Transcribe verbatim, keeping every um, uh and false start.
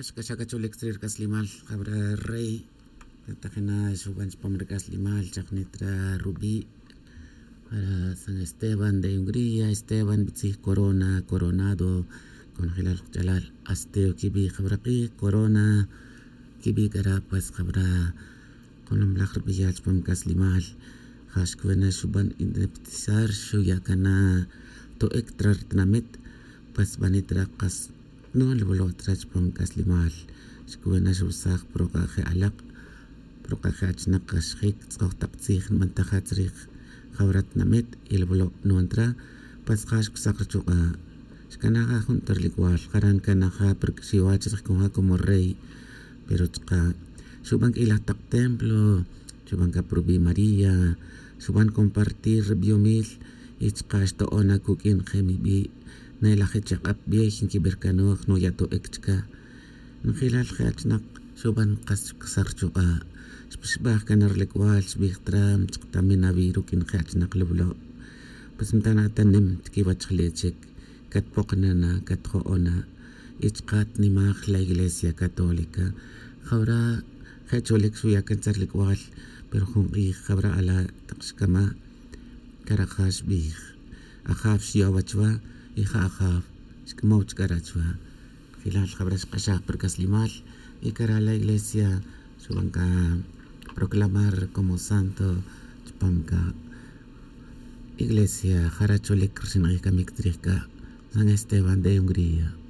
Xkaxakacholik tzrirk'aslemal jabra rey tajina xub'an chpam rik'aslemal chaqnitra rub'i' San Esteban de Hungría Esteban b'tzij corona coronado konjel qach'alal Asteo kib'i' jab'raq'ij Corona kib'i' k'ara pues jab'ra jun laj rb'eyal chpam k'aslemal ja xkwin xub'an independizar xuya' kana to'ik tra rtinamit pues b'anitra qas nu'an chpam k'aslemal xkowin na xursaj pruq'a' je alaq' pruq'a' je achnaq axjik tz'oj taq tziij nb'antaja chrij jab'ra tinamit y b'lo' nu'antra pues qa xksaj rchuq'a' xkanaj qa jun ralk'wal jare nkanaja pirk'xiwach rij como rey pero chqa xub'an k'i laj taq templo xub'an ka pur b'i' María xub'an compartir rb'iomil y chqa xto'ona kuk'in qemib'i' ne laj chaq'ab' b'ey nkib'erkanuj nuya' to'ik chka njel lal je achnaq xub'an qas xksaj rchuq'a' xpixb'aj kan ralk'wal xb'ij tra chqtamin awii' ruk' njel achnaq lawlo' pues mtana ta nim chkiwach jale' chik katpoqnana katjo'ona y chqa tnimaj la Iglesia Católica jawra je cholik xuya' kan che ralk'wal pero jun q'ij jab'ra ala' taq xkama karaja xb'ij ajaw xyo'w chwa y ja ajaw xk'amow chkara chwa jilal jab'ra xq'axaj pirk'aslemal y kara la iglesia xub'an ka proclamar como santo chpam ka iglesia jara cholik rxinq'ij kamik chrij ka San Esteban de Hungría.